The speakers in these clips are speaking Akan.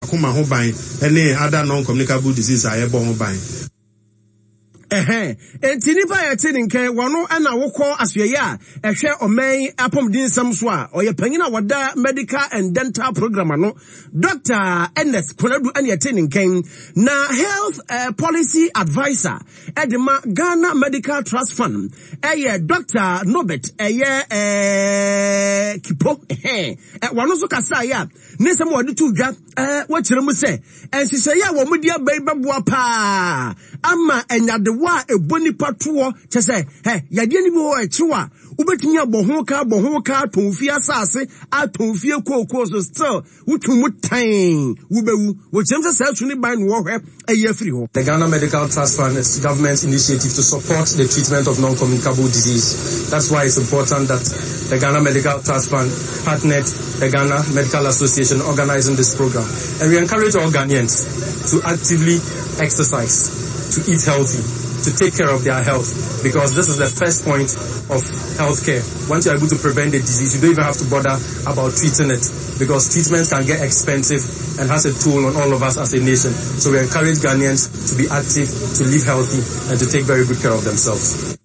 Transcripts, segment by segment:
Akoma ho ban ne other non-communicable disease a yɛbɔ ho ban. Ɛhɛn, enti nnipa a yɛte ne nka yi, wɔno na wokɔ asoɛeɛ a ɛhwɛ ɔman yi apɔmuden nsɛm so a, ɔyɛ panyin a wɔda Medical and Dental Program ano, Dɔkta Ernest Konadu na yɛte ne nka yi. Na Health Policy Adviser de ma Ghana Medical Trust Fund ɛyɛ Dɔkta Norbert ɛyɛ Kipo, ɛhɛn, wɔno nso kasaeɛ a Ne nsɛm a wɔde too dwa wɔkyerɛ mu sɛ nhyehyɛeɛ a wɔde aba yi bɛboa paa ama nyadewa a ɛbɔ nipa toɔ kyɛ sɛ ɛ yadeɛ no bi wɔ ɛkyew a wobɛtumi abɔ ho ka abɔ ho ka atɔn fie asase atɔn fie kookoo so still wotwe mu tan wobɛwu wɔkyerɛm sɛ saa su ne ban na wɔhwɛ ayi afiri hɔ. The Ghana Medical Trust Fund is government's initiative to support the treatment of non-communicable disease. That's why it's important that the Ghana Medical Trust Fund partnered the Ghana Medical Association organizing this program. And we encourage all Ghanaians to actively exercise, to eat healthy, to take care of their health, because this is the first point of healthcare. Once you're able to prevent the disease, you don't even have to bother about treating it, because treatment can get expensive and has a toll on all of us as a nation. So we encourage Ghanaians to be active, to live healthy, and to take very good care of themselves.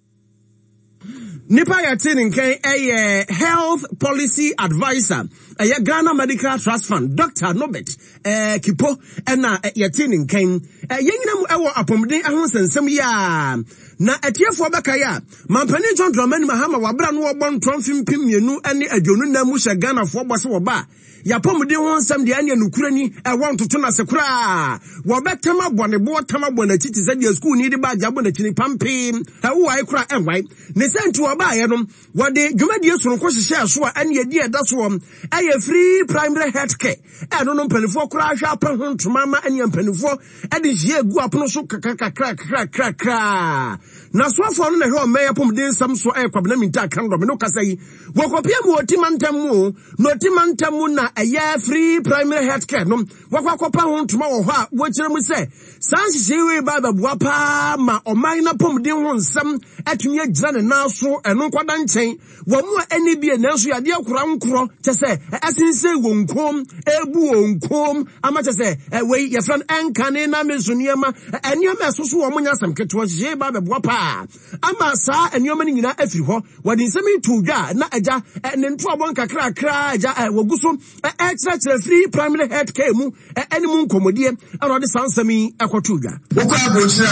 Nipa yɛte ne nkan ɛyɛ health policy adviser ɛyɛ Ghana Medical Trust Fund Dr. Norbert ɛɛ Kipo ɛna yɛte ne nkan yɛn nyina mu ɛwɔ apɔmuden ho nsɛnsɛm yi a na atiefoɔ bɛka yɛ a mampanin John Dramani Mahama wabra no wɔbɔ ntorɔ mfe 2024 mu hyɛ Ghanafoɔ bɔ sɛ wɔba a Y'apɔmuden ho nsɛm deɛ ɛneɛ nokorɛ ni, ɛwɔ ntoto no ase koraa. Wɔbɛtam abɔ ne boɔ tam abɔ n'akyi te sɛ deɛ sukuuni de baagye abɔ n'akyi no pampee. Ɛwowae koraa ɛnwae. Ne sɛ nti wɔbaeɛ no, wɔde dwumadie sononko hyehyɛɛ so a ɛneɛ din a ɛda soɔ ɛyɛ Free Primary Health Care. Ɛno no mpaninfoɔ koraa hwɛ apɛ ho ntoma ama ɛneɛ mpaninfoɔ ɛde nhyehyɛɛ gu apono so kakrakrakrakrakraa. N'asoafoɔ no na ɛhwɛ ɔman yi apɔmuden nsɛm soɔ ɛyɛ Kwabena Mintah Akandoh me ne wo kasa yi. Wɔkɔpie mu wɔ Oti mantam mu o. Na ɔte mantam mu na ɛyɛ free primary health care no wɔkɔ akɔpa ho ntoma wɔ hɔ a wɔkyerɛ mu sɛ saa nhyehyɛe wei ba bɛboa paa ma ɔman no apɔmuden ho nsɛm atumi agyina ne nan so. Ɛno nkɔda nkyɛn, wɔn mu a ɛne bie nanso yadeɛ kora nkorɔ kyɛ sɛ ɛsensɛn wɔn kɔn ebu wɔn kɔn ama kyɛ sɛ wei yɛfrɛ no ɛnkane na me nso nneɛma nneɛma ɛso so wɔn nyɛ asɛm ketewa. Nhyehyɛe ba bɛboa paa ama saa nneɛma no nyinaa afiri hɔ. Wɔde nsɛm yi too dwa a na agya ne ntoabɔ nkakrakra agya wɔgu so ɛrekyerɛkyerɛ firi primary health care mu ɛne mu nkɔmmɔdie ɛna ɔde saa nsɛm yi ɛkɔtoo dwa. Wokɔ aburokyire a,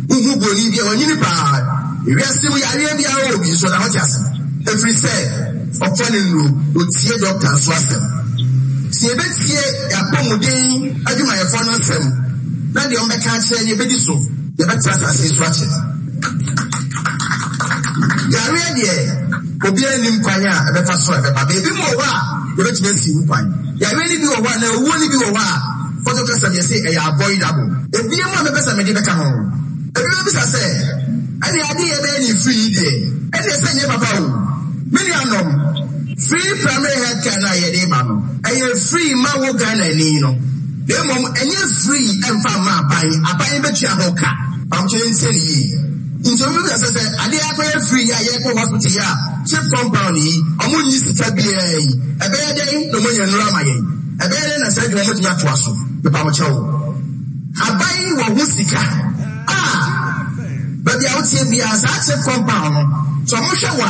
wohu buroni bi a wanyini paa. Ewiase mu yareɛ biara wɔ bi nso ɔda hɔ te ase. Ɛfiri sɛ ɔfa ne nnuro na ɔtie dɔkta nso asɛm. Sɛ yɛbɛtie yɛn apɔmuden adwumayɛfoɔ no asɛm na deɛ wɔbɛka akyerɛ yɛn yɛbɛdi so. Yɛbɛtena asase yi so akyɛ. Yareɛ deɛ, obiara nnim kwan a ɛbɛfa so a ɛbɛba. Baabi mu wɔ hɔ a, yɛbɛtumi asi ho kwan. Yareɛ no bi wɔ hɔ anaa owuo no bi wɔ hɔ a, pɔtɔ kasa mu yɛse ɛyɛ avoidable. Ebiem a mɛpɛ sɛ mede bɛka ho. Ebi bɛbisa sɛ, ɛnneɛ adeɛ a yɛbɛyɛ no free yi deɛ, ɛnneɛ sɛ ɛnyɛ papa o. Me nuanom, free primary health care no a yɛde reba no, ɛyɛ free ma wo Ghanani no. Na mmom ɛnyɛ free ɛmfa mma aban, aban bɛtua ho ka. Mpamokyɛ yɛntie no yie. Nti obi bɛbisa sɛ sɛ adeɛ akɔyɛ free yi a yɛkɔ hospital yi a chip compound yi ɔmo nnye sika biara yi ɛbɛyɛ dɛn na ɔmo anya nnuro ama yɛn? Ɛbɛyɛ dɛn na saa adwuma ɔmo atumi atoa so? Mepamokyɛw. Aban wɔ ho sika a baabi a woteɛ biara saa chip compound no sɛ ɔmo hwɛ wo a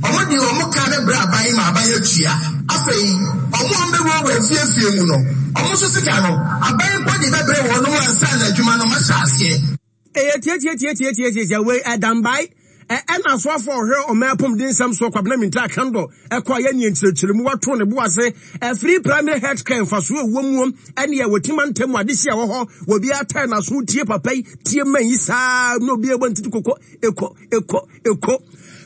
ɔmo de ɔmo ka bɛbrɛ aban ma aban atua. Afei ɔmo a wɔbɛwurawura afie afie mu no, ɔmo nso sika no, aban mpo de bɛbrɛ wɔnom ansa na adwuma no ahyɛ aseɛ. Ɛyɛ tiatiatiatiatiatia wei ɛdambae ɛ ɛna asoafoɔ a ɔhwɛ ɔman apɔmuden nsɛm soɔ Kwabena Mintah Akandoh ɛkɔ ayɛ neɛ nkyerɛkyerɛmu wato ne bo ase ɛfiri primary health care mfasoɔ ɛwɔ muo ɛne ɛwɔ ti mantam mu adehye a ɛwɔ hɔ wɔ bi atɛn n'aso tie papa yi tie man yi saa na obi ɛbɔ ntiti koko ɛkɔ ɛkɔ Eko.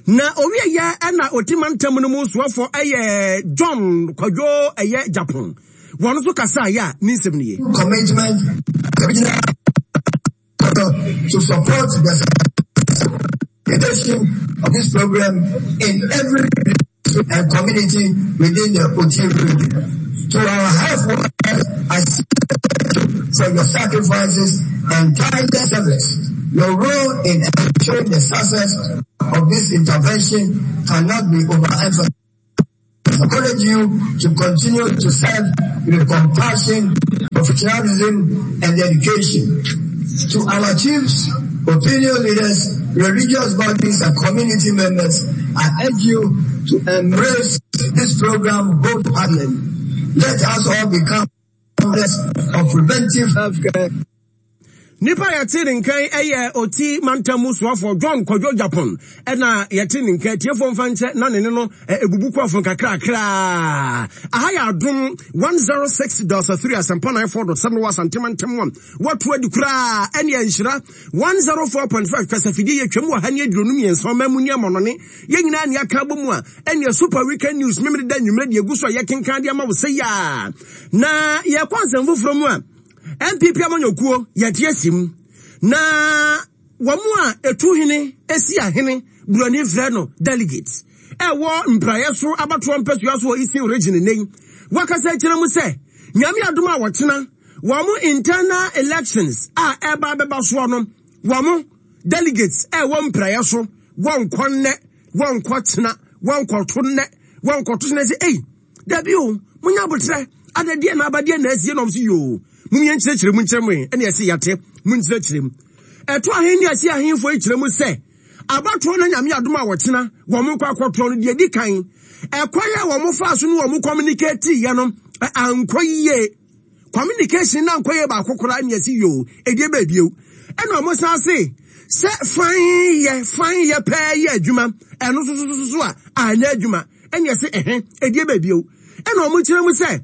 Na owieɛ ɛna oti mantam no mu soɔfoɔ ɛyɛ John Kwadwo ɛyɛ Japan. Wɔn nso kasaeɛ a ne nsɛm nie. Commitment to support the implementation of this program in every and community within the Oti region. To our health workers, I for your sacrifices and tireless service. Your role in ensuring the success of this intervention cannot be overemphasized. I encourage you to continue to serve with compassion. Professionalism and dedication. To our chiefs, opinion leaders, religious bodies and community members, I urge you to embrace this program wholeheartedly. Let us all become of preventive healthcare. Nipa a yɛte ne nkan yɛ Oti mantam mu soafoɔ John Kwadwo Gyapon ɛna yɛte ne nkan tiefoɔ mfa nkyɛ na ne ne no ebubu kɔ afon kakrakra. Aha yɛ Adom 106.3 Asɛmpa 94.7 wɔ Asante mantam a wɔto adi koraa ɛne Nhyira 104.5 kasafidie yɛtwam wɔ ha ne 23 ɔman mu ne amɔnɔne yɛn nyinaa ne aka abɔ mu a ɛne Super Weekend News memene da nnwummerɛ deɛ egu so a yɛkenkan de ama wo sɛ yaa na yɛkɔ nsɛm foforɔ mu a NPP amanyɔkuo yɛte asi mu na wɔn a ɛtu hene si ahene buroni frɛ no delegates ɛwɔ mpraeɛ so abatoɔ mpasua so wɔ Eastern Region nnɛ yi wakasa akyerɛ mu sɛ nyame adom a wɔkyena wɔn internal elections a ɛba bɛba soɔ no wɔn delegates ɛwɔ mpraeɛ so wɔnkɔ nnɛ wɔnkɔ kyena wɔnkɔto nnɛ wɔnkɔto kyena sɛ ei Dabi o, munya aboterɛ, ada deɛ na aba deɛ na asie na ɔm so yoo, mum yɛn nkyerɛkyerɛ mu nkyerɛ mu ɛne ɛse yate, mu nkyerɛkyerɛ mu. Ɛto ahen ne ase ahenfoɔ yi kyerɛ mu sɛ, abatoɔ no Nyame adom a wɔkyena wɔn kɔ akɔtoɔ no deɛ di kan, ɛkwan a wɔn faa so ne wɔn communicate yɛ no ankɔ yie. Communication na ankɔ yie baako koraa ne ɛse yoo, ɛdeɛ bɛɛ bio. Ɛna wɔn san se, sɛ fan yɛ, fan yɛ pɛɛ yɛ adwuma, ɛno nso so so so a, anyɛ adwuma. Ɛne ɛse ɛhɛ, ɛdeɛ bɛɛ bio. Ɛna wɔn kyerɛ mu sɛ,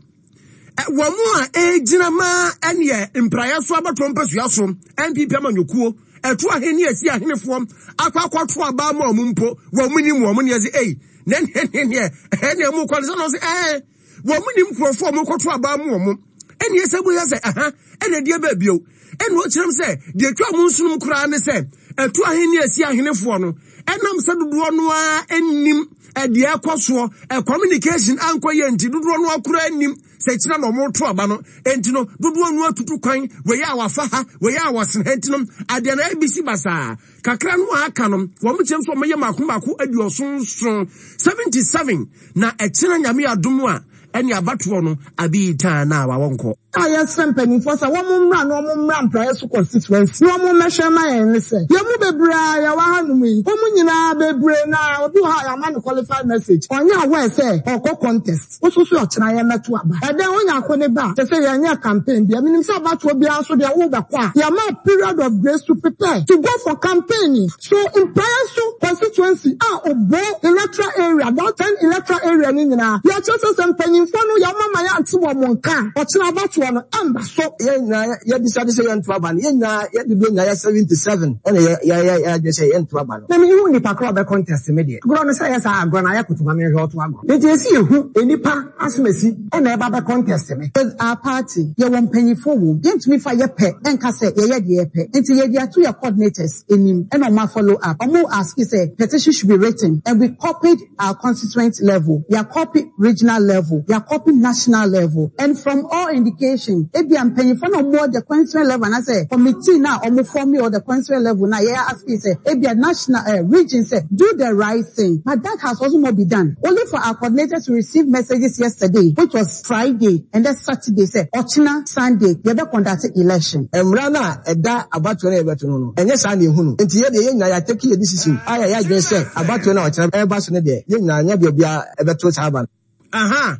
wɔn a ɛgyina ma ɛneɛ mpraeɛ so abatoɔ mpasua so, NPP amanyɔkuo, ɛto ahene asi ahenefoɔ, akɔ akɔto aba ama wɔn mpo, wɔn nim wɔn ne ɛse ei, na ɛneɛ, ɛneɛ mo kɔ no sɛ na wɔn se ɛɛ, wɔn nim nkurɔfoɔ a wɔn kɔto aba ama wɔn. Ɛne ɛsɛ bu yɛ sɛ ɛha, ɛna ɛdeɛ bɛɛ bio. Ɛna ɔkyerɛm sɛ, deɛ ɛtwa wɔn nsonom koraa ne sɛ, ɛto ahene asi ahenefoɔ no, ɛnam sɛ dodoɔ no ara nnim ɛdeɛ ɛkɔ soɔ, ɛ communication ankɔ yɛ nti dodoɔ no ara koraa nnim sɛ kyina na wɔn to aba no, nti no dodoɔ no atutu kwan, wei a wafa ha, wei a wɔsene ha, nti no adeɛ no ɛbisi basaa. Kakra no a aka no, wɔn kyerɛm sɛ wɔyɛ mako mako aduɔson nson, 77, na ɛkyena Nyame adom a, ɛne abatoɔ no abi taa na wawɔ nkɔ. A yɛsrɛ mpanimfoɔ sɛ wɔn mmra na wɔn mmra mpraeɛ so constituency na wɔn mmɛhwɛ mma yɛn ne sɛ, yɛn mu bebree a yɛwɔ ha nom yi, wɔn nyinaa bebree no ara, obi wɔ hɔ a yɛama no qualified message, ɔnyɛ aware sɛ ɔrekɔ contest, wo nso so ɔkyena yɛmmɛto aba. Ɛdɛn, wonya ko ne ba a, kyerɛ sɛ yɛnyɛɛ campaign biara. Menim sɛ abatoɔ biara nso deɛ worebɛkɔ a, yɛma wo period of grace to prepare to go for campaigning. So Mpaeɛ so constituency a Obo electoral area, that ten electoral area no nyinaa, yɛkyerɛ sɛ sɛ mpanyinfoɔ no yɛama ma yɛante wɔn nka a, ɔkyena abatoɔ no ɛmba so. Yɛn nyinaa yɛ decide sɛ yɛnto aba no, yɛn nyinaa yɛ dodoɔ nyinaa yɛ 77 ɛna yɛ yɛ yɛ yɛ adwene sɛ yɛnto aba no. Na me hu nipa korɔ ɔbɛ contest me deɛ agorɔ no sɛ ɛyɛ saa agorɔ no ayɛ koto ma me nhwɛ ɔto agorɔ nti ɛsi yɛ hu nipa asomasi ɛna ɛba bɛ contest me. With our party yɛwɔ mpanyinfoɔ wom yɛntumi fa yɛ pɛ nka sɛ yɛyɛ deɛ yɛpɛ nti yɛde ato yɛ coordinators anim ɛna ɔmo a follow up ɔmo ask sɛ petition should be written and we copied our constituent level yɛ copy regional level yɛ copy national level and from all indication ebia mpanyinfoɔ na ɔmo wɔ the constituent level anaasɛ committee na ɔmo form wɔ the constituent level na yɛ ask sɛ ebia national eh, region sɛ do the right thing but that has also not been done only for our coordinators to receive messages yesterday which was Friday and then Saturday sɛ ɔkyena Sunday yɛbɛ conduct election. Mmara no a ɛda abatoɔ no a yɛbɛto no no, ɛnyɛ saa na yɛhu no. Enti yɛn deɛ, yɛn nyinaa yɛatake yɛn decision a yɛayɛ adwene sɛ abatoɔ no a ɔkyena ɛreba so no deɛ, yɛn nyinaa, nyɛ deɛ obiara bɛto saa aba no. Aha!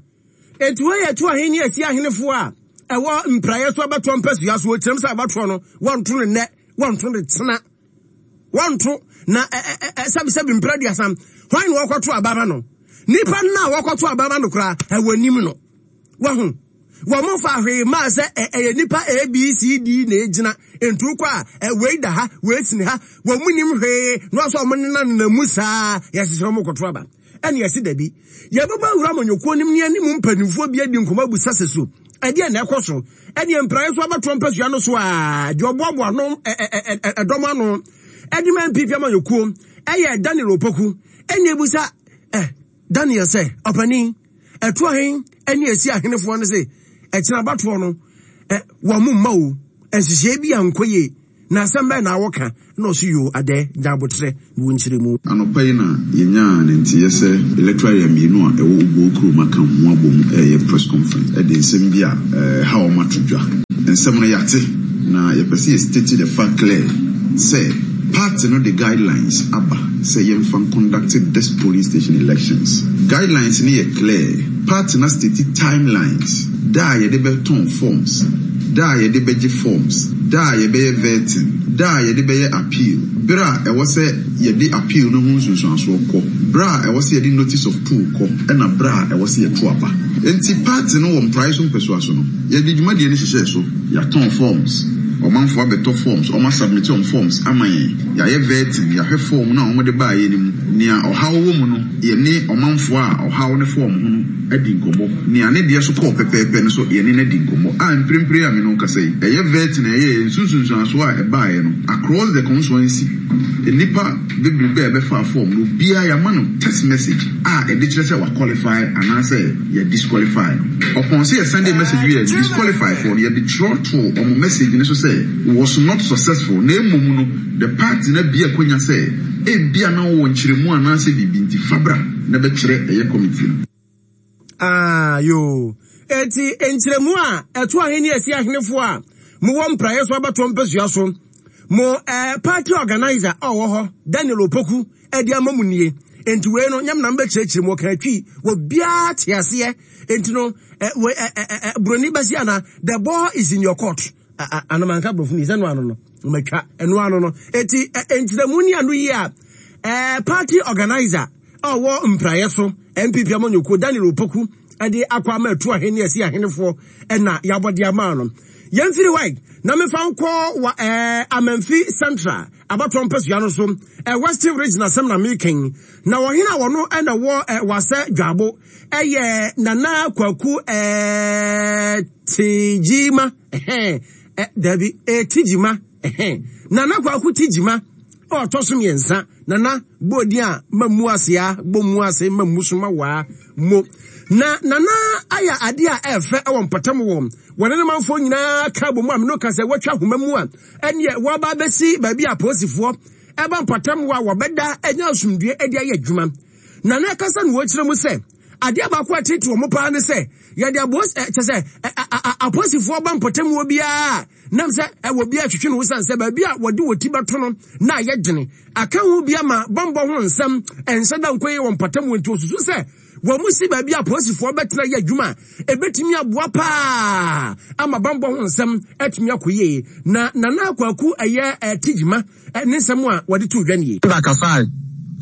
Enti wei yɛ to ahenni a ɛsi ahenefoɔ a ɛwɔ mpraeɛ so abatoɔ mpasua so. Wɔkyerɛm sɛ abatoɔ no, wɔnto no nnɛ, wɔnto no kyena. Wɔnto na sɛbisɛbi mpra aduasa. Hwan na wɔkɔto aba ma no? Nipa no a wɔkɔto aba ma no koraa, ɛwɔ nim no. Wahu? Wɔn fa hwee maa sɛ ɛyɛ nipa A, B, C, D na egyina. Ntu kɔ a, wei da ha, wei sini ha. Wɔn nim hwee na wɔsɛ wɔn nenam mu saa yɛhyehyɛ wɔn kɔto aba. Ɛne ɛse dabi. Yɛbɛbɔ awura amanyɔkuo nim ne ɛne mu mpanimfoɔ bi adi nkɔmmɔ abu sase so. Ɛdeɛ na ɛkɔ so. Ɛneɛ mpraeɛ so abatoɔ mpasua no so a, deɛ ɔboaboa ano ɛdɔm ano ɛde ma NPP amanyɔkuo ɛyɛ Daniel Opoku. Ɛne ebusa ɛ Daniel sɛ, ɔpanin, ɛto ahen ɛne ɛsi ahenefoɔ no se ɛkyena abatoɔ no ɛ wɔn mma o, nhyehyɛeɛ bi ankɔ yie. Na asɛm bɛn na woka? Ɛna ɔse, Yoo, adɛɛ, gya aboterɛ na wo nkyerɛmu. Anɔpa yi na yɛnyaa ne nteeɛ sɛ electoral area mmienu a ɛwɔ Obuo kurom aka ho abom reyɛ press conference de nsɛm bi a ɛha wɔn ato dwa. Nsɛm no yɛate, na yɛpɛ sɛ yɛ state the fact clear sɛ party no de guidelines aba sɛ yɛmfa nconduct this polling station elections. Guidelines no yɛ clear, party no astate timelines, da a yɛde bɛtɔn forms, da a yɛde bɛgye forms, da a yɛbɛyɛ vetting, da a yɛde bɛyɛ appeal, berɛ a ɛwɔ sɛ yɛde appeal no ho nsunsuansoɔ kɔ, berɛ a ɛwɔ sɛ yɛde notice of poll kɔ, ɛna berɛ a ɛwɔ sɛ yɛto aba. Enti party no wɔ mpraeɛ so mpɛsoa so no, yɛde dwumadie no hyehyɛɛ so. Yɛatɔn forms, ɔmanfoɔ abɛtɔ forms, wɔasubmit wɔn forms ama yɛn, yɛayɛ vetting, yɛahwɛ form no a wɔde baeɛ no mu, nea ɔhaw wɔ mu no, yɛne ɔmanfoɔ a ɔhaw no fa wɔn ho no adi nkɔmmɔ, nea ne deɛ so kɔɔ pɛpɛɛpɛ no nso yɛne no adi nkɔmmɔ, a mprempren a me ne wo kasa yi, ɛyɛ vetting a yɛyɛeɛ, nsunsunsuansoɔ a ɛbaeɛ no, across the constituency, nnipa bebrebe a ɛbɛfaa form no, obiara yɛama no text message a ɛde kyerɛ sɛ wa qualify anaasɛ yɛ disqualify no. Ɔpɔn sɛ yɛ sɛndee message wie a, disqualify foɔ no, yɛde twerɛ too wɔn message no so sɛ was not successful, na mmom no, the party no abue akwanya sɛ ebia na wowɔ nkyerɛmu anaasɛ biribi nti fa bra na bɛkyerɛ ɛyɛ committee no. Ah, yoo. Enti nkyerɛmu a ɛto ahenni asi ahenefo a mowɔ mpraeɛ so abatoɔ mpasua so, mo eh, party organizer a ɔwɔ hɔ, Daniel Opoku, ɛde ama mu nie. Enti wei no, nyam na mbɛkyerɛkyerɛ mu, ɔka twi, obiara te aseɛ. Enti no, eh, wei, eh, eh, eh, buroni bɛsi ana, the ball is in your court. Anomanka borɔfo ni, sɛ no ano no, matwa, ɛno ano no. Enti, nkyerɛmu ni ano yi a, eh, party organizer, a ɔwɔ mpraeɛ so NPP amanyɔkuo Daniel Opoku de akɔ ama atu ahene asi ahenefoɔ na yɛabɔ de ama no. Yɛmfiri hɔ na mefa nkɔ wa ɛɛ Amanfi Central abatoɔ mpasua no so ɛ Western Region asɛm na meka na ɔhene a wɔno na wɔ ɛ wasɛ dwabo ɛyɛ Nana Kwaku ɛɛ Tegyima ɛhɛn ɛ dabi ɛ Tegyima Ɛhɛn. Nana Kwaku Tegyima a ɔtɔ so mmiɛnsa. Nana bɔ din a ma mu ase a bɔ mu ase ma mu so ma waa mo. Na Nana ayɛ adeɛ a ɛfɛ wɔ mpɔtam wɔ wɔne ne manfoɔ nyinaa ka bɔ mu a mene ka sɛ wɔatwa ahoma mu a ɛneɛ wɔaba abɛsi baabi a apolisifoɔ ɛba mpɔtam wɔ a wɔbɛda anya asomdue de ayɛ adwuma. Nana kasa na wɔkyerɛ mu sɛ adeɛ baako a ɛtete wɔn paa ne sɛ yɛde abos kyɛ sɛ apolisifoɔ ba mpɔtam wɔ biara Nam sɛ ɛwɔ bi a ɛtwetwe no wosiane sɛ baabi a wɔde wɔ ti bɛto no na ayɛ dene. Aka ho bi ama bammɔ ho nsɛm nhyɛ da nkɔ yie wɔ mpɔtam hɔ nti wɔsusu sɛ wɔn si baabi a apolisifoɔ bɛtena yɛ adwuma a ɛbɛtumi aboa paa ama bammɔ ho nsɛm atumi akɔ yie. Na Nana Kwaku ɛyɛ Tijima ne nsɛm a wɔde too dwa nie. Yuda kasae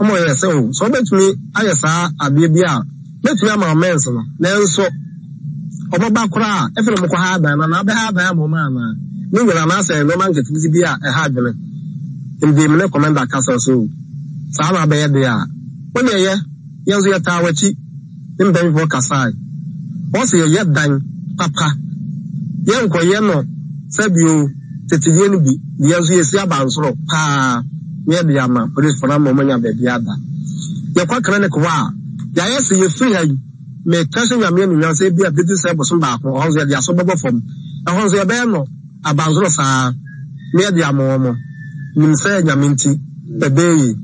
ma ɔyɛɛ sɛ, O, sɛ wobɛtumi ayɛ saa adeɛ bi a, mɛtumi ama wo mmɛnse no. Nanso wɔba koraa a, ɛfei na wɔkɔha adan no anaa? Wobɛha adan ama wɔn anaa? Ne nyinaa, anaasɛ nneɛma nketenkete bi a ɛha adwene. Nti me ne kɔmɛnda kasa, ɔse, O, saa na abɛyɛ deɛ a, wo deɛ yɛ, yɛn nso yɛtaa w'akyi. Ne mpanyimfoɔ kasae. Wɔse yɛyɛ dan papa, yɛnkɔyɛ no sɛdeɛ tetedeɛ no bi, deɛ nso yɛsi abansoro paa na yɛde ama polisfoɔ no ama wɔanya baabi ada. Yɛkɔ clinic hɔ a, yɛayɛ sɛ yɛfiri ha yi, meka hyɛ Nyame anuonyam sɛ ebia bɛdu sɛ bosom baako, ɛhɔ nso yɛde aso bɛbɔ fam. Ɛhɔ nso yɛbɛyɛ no abansoro saa na yɛde ama wɔn. Nim sɛ Nyame nti ɛbɛyɛ yie.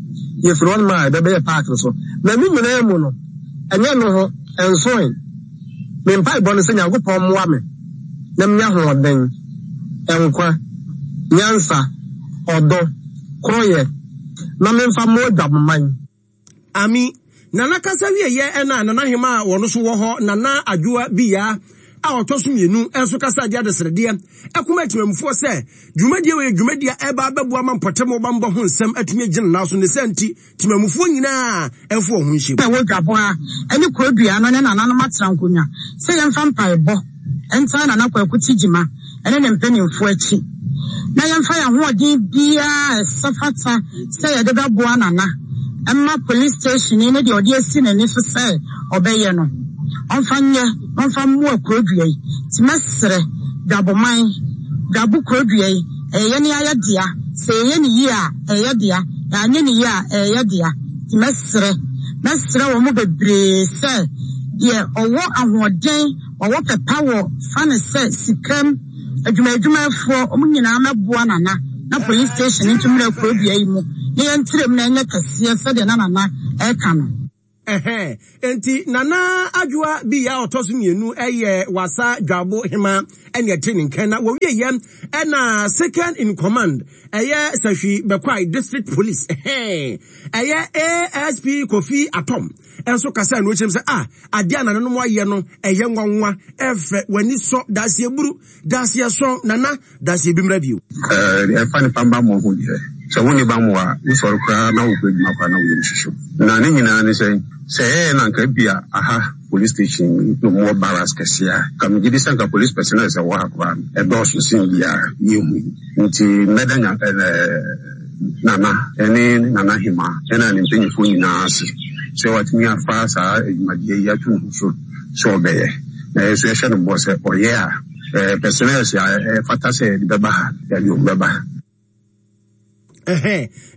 Yɛfiri hɔnom a yɛbɛbɛyɛ park no so. Na ne nyinaa mu no, ɛnyɛ ɛno ho nsoe. Me mpaebɔ ne sɛ Nyankopɔn mmoa me na menya ahoɔden, nkwa, nyansa, ɔdɔ, koroyɛ na memfa mmoa Adwaboman. Ami, Nana kasa wieɛ ɛna Nana Hemaa a ɔno nso wɔ hɔ, Nana Adwoa Biyaa a ɔtɔ so mmienu nso kasa de adesrɛdeɛ ɛkɔma atimamufoɔ sɛ dwumadie wei yɛ dwumadie a ɛba abɛboa ma mpɔtam bammɔ ho nsɛm atumi agyina nan so ne saa nti timamufoɔ nyinaa mfa wɔn ho nhyɛ mu. Ɛwɔ Dwaboa ne Kurodua no ne nananom atena nkonnwa sɛ yɛmfa mpaebɔ ntaa Nana Kwaku Tigyima ne ne mpanimfoɔ akyi na yɛmfa yɛn ahoɔden biara a ɛsɛ fata sɛ yɛde bɛboa Nana mma police station yi ne deɛ ɔde asi n'ani so sɛ ɔbɛyɛ no ɔmfa nyɛ na ɔmfa mmoa kurodua yi. Nti mɛsrɛ Dwaboman, Dwabo kurodua yi ɛyɛ yɛn ara yɛ dea, sɛ yɛyɛ no yie a ɛyɛ yɛ dea, yɛanyɛ no yie a ɛyɛ yɛ dea. Nti mɛsrɛ, mɛsrɛ wɔn bebree sɛ deɛ ɔwɔ ahoɔden, ɔwɔ pɛ pa wɔ fa no sɛ sikam adwumaadwumafoɔ wɔn nyinaa mɛboa Nana na police station nto mmra kuro dua yi mu na yɛntrɛ mu na ɛnyɛ kɛseɛ sɛdeɛ na Nana ɛreka no. Ɛhɛn, enti Nana Adwoa Biya a ɔtɔ so mmienu yɛ Wassa Dwabo Hema ɛne ɛte ne nkan na wɔwieɛ ɛna second in command ɛyɛ Sahwi Bɛkwae District Police ɛhɛn ɛyɛ ASP Kofi Atom nso kasa no kyerɛm sɛ ah adeɛ a nananom ayɛ no ɛyɛ nwanwa ɛfɛ w'ani sɔ daseɛ buru daseɛ sɔn nana Danse bi mmra bio. Ɛɛ, ɛfa nipa bammɔ ho deɛ, sɛ wonni bammɔ a, wosɔre koraa na wokɔ adwuma koraa na wo yam hyehye wo. Na ne nyinaa ne sɛn? Sɛ ɛyɛ na anka ebia aha police station yi na wɔwɔ barracks kɛseɛ a, anka megye di sɛ anka police personnel a ɛwɔ ha koraa no, ɛdɔɔso sen deɛ yɛhu yi. Nti mɛda nya ɛɛ Nana ne Nana Hemaa ɛna ne mpanyinfoɔ nyinaa ase sɛ watumi afa saa adwumadeɛ yi ato ne ho so sɛ ɔbɛyɛ. Na yɛn nso yɛhyɛ no bɔ sɛ ɔyɛ a, Personnels a ɛfata sɛ yɛde bɛba ha, yɛde wɔn bɛba.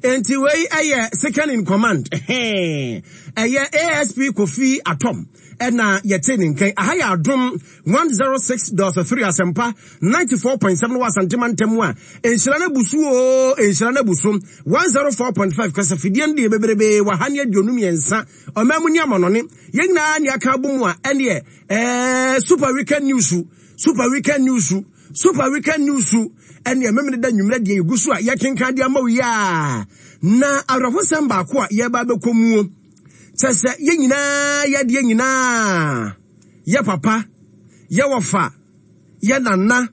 Enti wei ɛyɛ second in command ɛyɛ ASP Kofi Atom ɛna yɛte ne nkan. Aha yɛ Adom 106.3 Asɛmpa 94.7 wɔ Asante mantam a nhyira no abu so o, nhyira no abu so 104.5 kasafidie no deɛ bebrebe wɔ ha ne 23 ɔman mu ne amanɔne yɛn nyinaa ne aka abɔ mu a ɛneɛ Ɛɛ super weekend news super weekend news super weekend news ɛne ɛmɛmene da nwummerɛ deɛ yɛgu so a yɛkenkan de ama wo yi a na awerɛhosɛm baako a yɛba bɛkɔ muo kyɛ sɛ yɛn nyinaa yɛdeɛ nyinaa yɛ papa yɛ wɔfa yɛ nana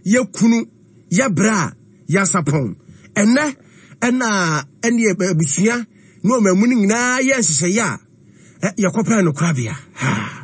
yɛ kunu yɛ bra yɛ asapɔn ɛnɛ ɛna ɛne abusua ne ɔmamu no nyinaa yɛ nhyehyɛeɛ a yɛkɔpɛɛ no korabea ha.